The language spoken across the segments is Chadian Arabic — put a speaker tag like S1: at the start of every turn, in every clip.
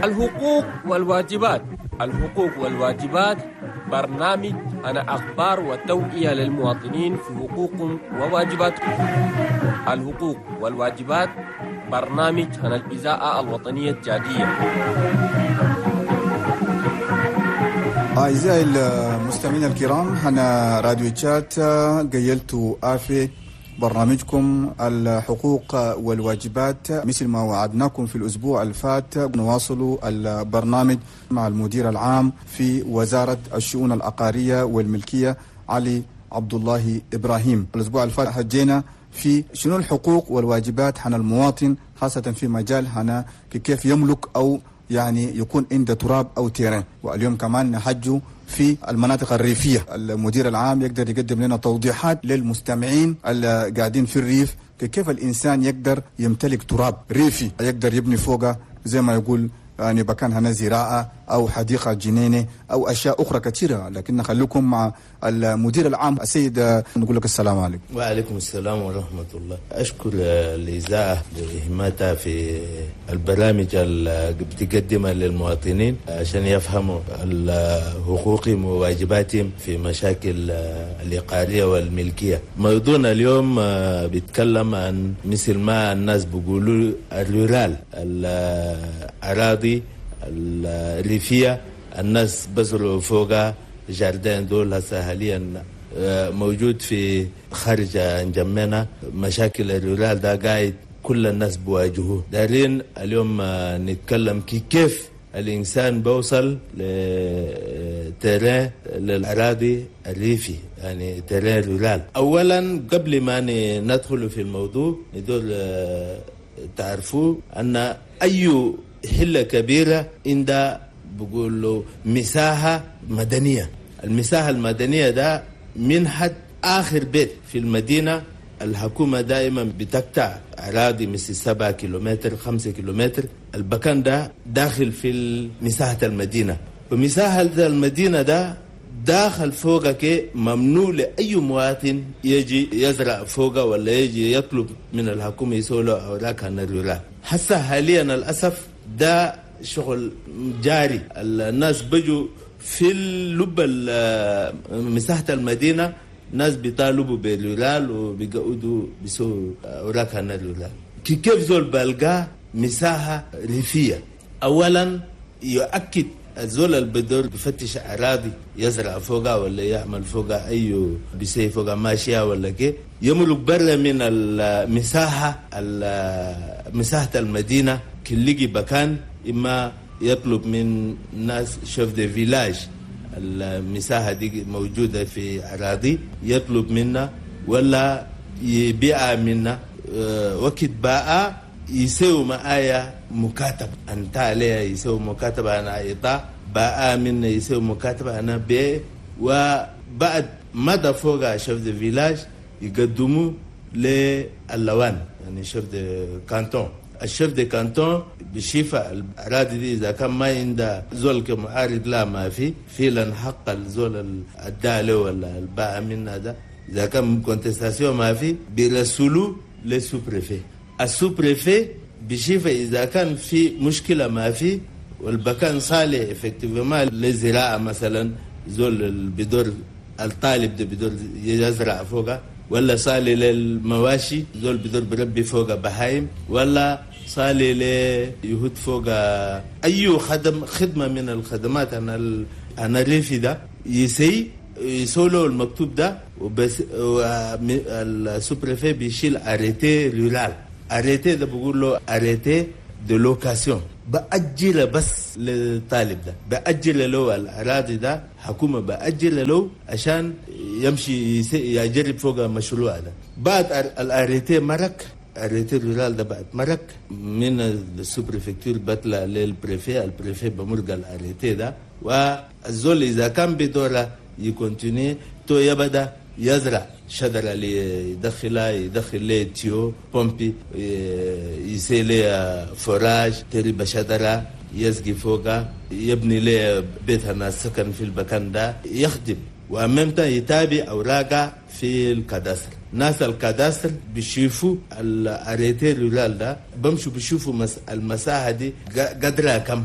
S1: الحقوق والواجبات. الحقوق والواجبات برنامج أنا أخبار وتوعية للمواطنين في حقوقهم وواجباتهم. الحقوق والواجبات برنامج عن الإذاعة الوطنية التشادية.
S2: أعزائي المستمعين الكرام، أنا راديو تشاد قيلت آفي برنامجكم الحقوق والواجبات. مثل ما وعدناكم في الأسبوع الفات، نواصل البرنامج مع المدير العام في وزارة الشؤون العقارية والملكية علي عبد الله إبراهيم. الأسبوع الفات حجينا في شنو الحقوق والواجبات عن المواطن، خاصة في مجال هنا كيف يملك أو يعني يكون عنده تراب أو terrain. واليوم كمان نحجوا في المناطق الريفية. المدير العام يقدر يقدم لنا توضيحات للمستمعين اللي قاعدين في الريف، كيف الإنسان يقدر يمتلك تراب ريفي يقدر يبني فوقه زي ما يقول يعني بكان هنا زراعة أو حديقة جنينة أو أشياء أخرى كثيرة. لكن نخليكم مع المدير العام السيد، نقول لك السلام عليكم.
S3: وعليكم السلام ورحمة الله. أشكر الإذاعة لإهمتها في البرامج اللي بتقدمها للمواطنين عشان يفهموا حقوقهم وواجباتهم في مشاكل الإقارية والملكية. موضوعنا اليوم بيتكلم عن مثل ما الناس بيقولوا الرورال، الأراضي الريفية، الناس بزرعوا فوقها jardin دول هسه حاليا موجود في خارج انجمينا. مشاكل ال rural ده قاعد كل الناس بواجهوه. دارين اليوم نتكلم كيف الإنسان بوصل ل terrain للأراضي الريفي، يعني terrain rural. أولا قبل ما ندخل في الموضوع ندور تعرفوا أن أي حلة كبيرة عندها بقول له مساحة مدنية. المساحة المدنية ده من حد آخر بيت في المدينة. الحكومة دائما بتقطع أراضي مثل 7 كيلومتر 5 كيلومتر، البكان ده داخل في مساحة المدينة. ومساحة المدينة ده داخل فوقك ممنوع لأي مواطن يجي يزرع فوقه ولا يجي يطلب من الحكومة يسوي له أوراق عن الرولة. هسه حاليا للأسف ده شغل جاري، الناس بيجوا في اللب مساحة المدينة، ناس بيطالبوا بال rural وبيقعدوا بيسووا أوراق عن ال rural. كيف زول بلقى مساحة ريفية؟ أولا يؤكد الزول اللي بدور بفتش أراضي يزرع فوقها ولا يعمل فوقها أي بيسي فوقها ماشية ولا كي، يملك برا من المساحة مساحة المدينة كلقي بكان، إما يطلب من ناس chef de village المساحة دي موجودة في أراضي يطلب منا ولا يبيع منا. وقت باع يسوي معايا مكاتبة، أنت عليها يسوي مكاتبة أنا إعطاء باع منا يسوي مكاتبة أنا بيع. وبعد مدى فوق chef de village يقدموا للوان، يعني chef de canton. ال chef de canton بشيفة الأراضي دي إذا كان ما عنده زول كمعارض لا ما في فعلا حق الزول الدالي ولا الباع منا ده، إذا كان contestation ما في بيرسلوا لل sous-préfet. ال sous-préfet بشيفة إذا كان في مشكلة ما في والبكان صالح effectivement للزراعة مثلا، زول بدور الطالب ده بدور يزرع فوقه، ولا صالح للمواشي زول بدور بربي فوق بهايم، ولا صالح ليهود فوق أي خدمة من الخدمات أنا الريفي ده يسولو المكتوب ده. وبس ال sous-préfet بيشيل arrêté rural. arrêté ده بقول له arrêté de location، بأجل بس للطالب ده، بأجل له الأراضي ده حكومة بأجل له عشان يمشي يجرب فوق المشروع ده. بعد ال arrêté مرك، arrêté rural ده بعد مرك من ال sous-préfecture بطلع لل préfet، ال préfet بمرق ال arrêté ده. والزول إذا كان بدوره ي continuer تو يبدأ يزرع شجرة اللي يدخلها، يدخل ليه tuyau pompe، يسيلي forage، تربى شجرة يسقي فوقها، يبني ليه بيت الناس سكن في المكان ده، يخدم وأمامته يتابع أوراقه في ال cadastre. ناس ال cadastre بيشوفوا ال arrêté rural ده، بمشوا بيشوفوا المساحة دي قدرها كم.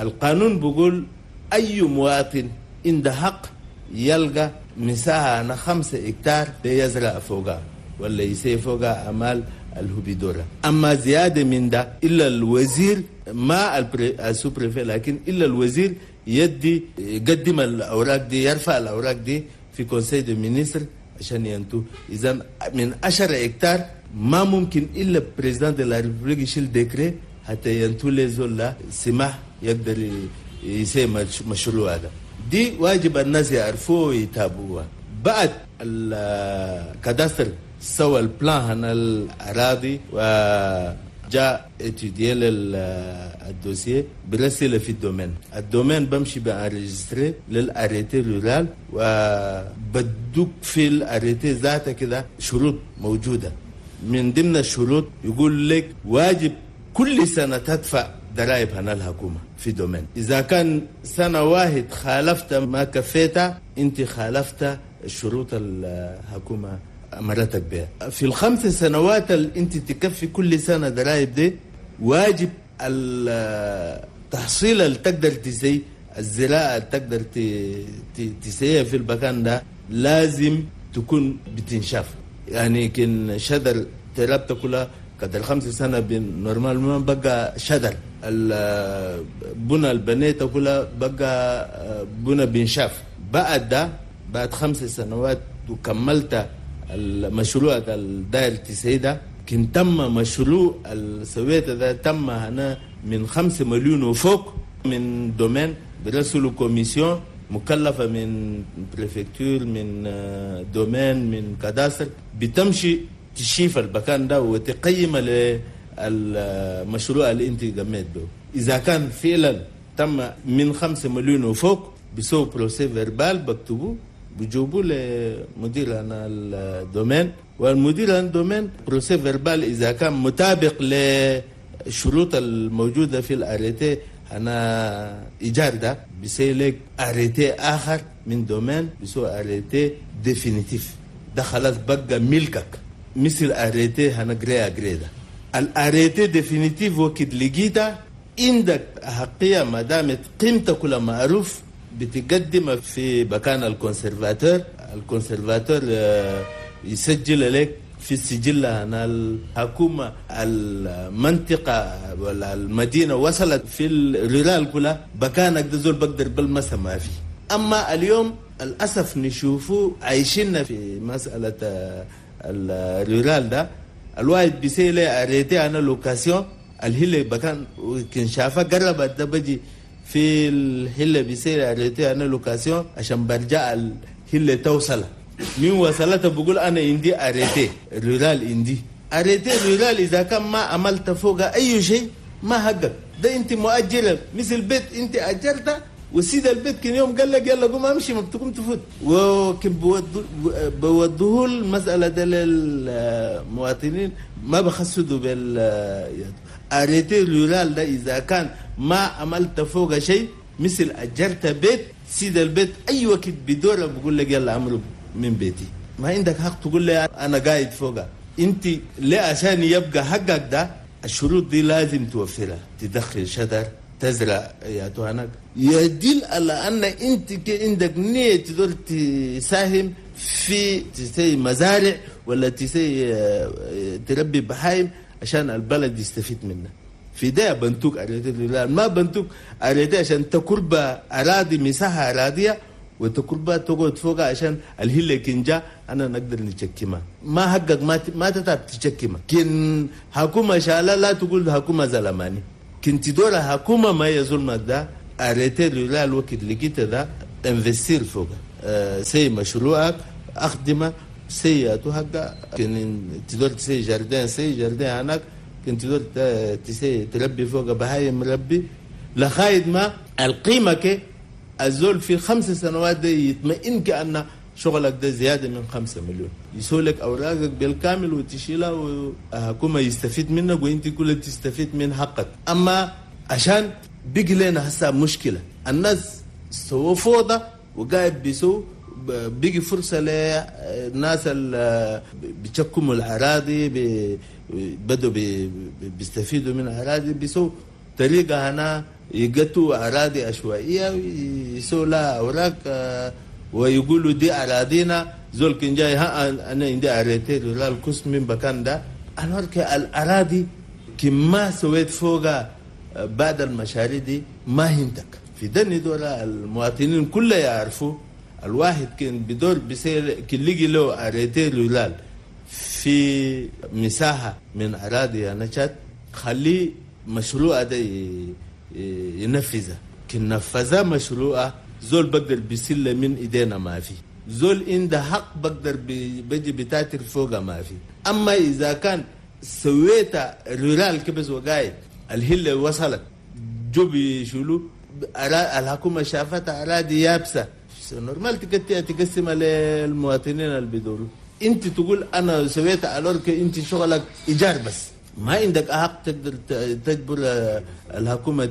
S3: القانون بيقول أي مواطن عنده حق يلقى مساحة أنا 5 هكتار ليزرع فوقها ولا يسوي فوقها أعمال الهبيدورة. أما زيادة من ده إلا الوزير ما ال sous-préfet، لكن إلا الوزير يدي يقدم الأوراق دي، يرفع الأوراق دي في conseil de ministres عشان ينتو. إذا من 10 هكتار ما ممكن إلا président de la République يشيل décret حتى ينتو لزول سماح يقدر يسوي مشروع هذا. دي واجب الناس يعرفوه ويتابعوها. بعد ال cadastre سوى ال plan هنا الأراضي وجاء étudier ال dossier برسله في ال domaine. ال domaine بمشي ب enregistrer لل arrêté rural، وبدوك في ال arrêté ذاته كده شروط موجودة. من ضمن الشروط يقول لك واجب كل سنة تدفع ضرائب هنا الحكومة في domaine. إذا كان سنة واحد خالفت ما كفيتها، أنت خالفت الشروط الحكومة أمرتك بها. في ال5 سنوات اللي أنت تكفي كل سنة ضرائب دي، واجب التحصيل اللي تقدر تسي، الزراعة اللي تقدر تسيها في المكان ده لازم تكون بتنشاف. يعني كن شدر تربت كلها قدر 5 سنة normalement بقى شدر، البنى البنيته كلها بقى بنى بنشاف. بعد ده بعد 5 سنوات وكملت المشروع الداير تسيدة، كن تم مشروع السويت ده تم هنا من 5 مليون وفوق من domaine، برسلوا commission مكلفة من préfecture من domaine من cadastre، بتمشي تشيف المكان ده وتقيم للمشروع اللي انت قمت به. إذا كان فعلا تم من 5 مليون وفوق بسو procès-verbal بكتبوه بجيبوه لمدير أنا ال domaine، والمدير ال domaine procès-verbal إذا كان مطابق للشروط الموجودة في ال arrêté أنا إيجار ده بيسيلك arrêté آخر من domaine بيسو arrêté définitif، ده خلاص بقى ملكك. مثل arrêté هنا gré à gré ده ال arrêté définitif وقت لقيته عندك أحقية ما دامت قيمتك كلها معروف، بتقدم في مكان ال conservateur، ال conservateur يسجل لك في السجل هنا الحكومة المنطقة ولا المدينة وصلت في ال rural كلها بكانك ده زول بقدر بالمسا ما في. أما اليوم الأسف نشوفه عايشين في مسألة ال rural ده، الواحد بيسيلي arrêté أنا location الهلة بكان كان شافه قربت ده بجي في الهلة بيسيلي arrêté أنا location عشان برجع الهلة توصل. من وصلته بقول أنا عندي arrêté rural، عندي arrêté rural إذا كان ما عملت فوق أي شيء ما حقك ده، أنت مؤجرة مثل بيت أنت أجرته وسيد البيت كان يوم قال لك يلا قوم امشي ما بتقوم تفوت. وكان بودوه المسألة ده للمواطنين ما بخسدوا بال arrêté rural ده. إذا كان ما عملت فوق شيء مثل أجرت بيت سيد البيت أي وقت بدوره بقول لك يلا أمره من بيتي، ما عندك حق تقول لي أنا قاعد فوقها. أنت ليه عشان يبقى حقك ده الشروط دي لازم توفرها، تدخل شجر تزرع يا تهانك، يدل على أن أنت عندك نية تقدر تساهم في تسي مزارع ولا تسي تربي بهايم عشان البلد يستفيد منها. في ده بنتوك arrêté، ما بنتوك arrêté عشان تكربة أراضي مساحة أراضية وتكربة تقعد فوقها عشان الهلة كنجا أنا نقدر نتشكمها. ما حقك ما تتعب تشكمها. كن حكومة شالة لا تقول حكومة زلماني، كنت دورة حكومة ما يظلمك ده arrêté rural الوقت لقيت ده investir فوق سي مشروعك أخدمه سي حقا. كن تدور تسي jardin سي jardin هناك، كنت تدور تسي تربي فوق بهايم مربي لخايد ما القيمة كي الزول في 5 سنوات ده يطمئن كأن شغلك ده زيادة من 5 مليون، يسولك أوراقك بالكامل وتشيلها وحكومة يستفيد منك وانت كلها تستفيد من حقك. أما عشان بيجي لنا هسه مشكلة الناس سووا فوضى وقاعد بيسوا بيجي فرصة للناس اللي بيشكموا الأراضي بدوا بيستفيدوا من الأراضي بيسوا طريقة هنا يقتوا أراضي عشوائية ويسوا لها أوراق ويقولوا دي أراضينا. زول كان جاي ها أنا عندي arrêté rural كس من بكان ده. الأراضي كما سويت فوقها بعد المشاريع دي ما هنتك في دني دول. المواطنين كلها يعرفوا الواحد كان بدور بيصير كان لقي له arrêté rural في مساحة من أراضي نشات، خليه مشروع ده ينفذه. كن نفذه مشروعه زول بقدر بيسل من ايدينا ما في، زول عنده حق بقدر بيجي بتاتر فوقه ما في. اما اذا كان سويت rural كبس وقايد الهلة وصلت جو بيشولو الحكومة شافتها أراضي يابسة، normal تقسمها للمواطنين اللي بيدوروا. انت تقول انا سويت alors que انت شغلك ايجار بس، ما عندك حق تقدر تجبر الحكومة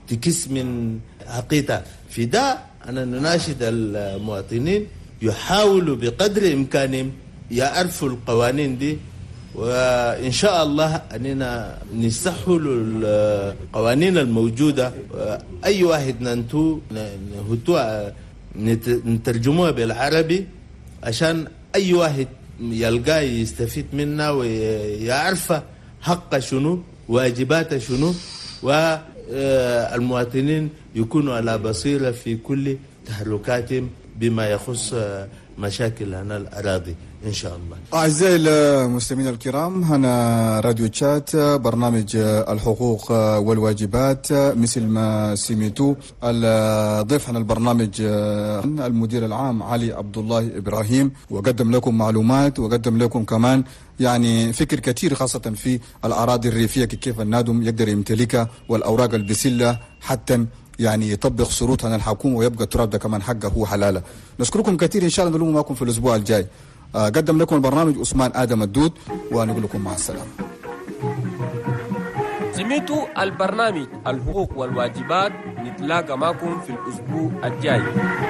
S3: تكس من حقيقتها. في ده أنا نناشد المواطنين يحاولوا بقدر إمكانهم يعرفوا القوانين دي، وإن شاء الله أننا نسهل القوانين الموجودة. أي واحد ننتو نترجموها بالعربي عشان أي واحد يلقاه يستفيد منها ويعرف حقه شنو، واجباته شنو، والمواطنين يكونوا على بصيرة في كل تحركاتهم بما يخص مشاكل هنا الأراضي إن شاء الله.
S2: أعزائي المستمعين الكرام، هنا راديو تشات، برنامج الحقوق والواجبات. مثل ما سمعتوا الضيف عن البرنامج المدير العام علي عبد الله إبراهيم، وقدم لكم معلومات وقدم لكم كمان يعني فكر كثير خاصة في الأراضي الريفية، كيف النادم يقدر يمتلكها والأوراق البسلة حتى يعني يطبق شروط عن الحكومة ويبقى التراب ده كمان حقه هو حلاله. نشكركم كثير، إن شاء الله نلوم معكم في الأسبوع الجاي. قدم لكم البرنامج عثمان آدم الدود، ونقول لكم مع السلامة.
S1: سمعتوا البرنامج الحقوق والواجبات، نتلاقى معكم في الأسبوع الجاي.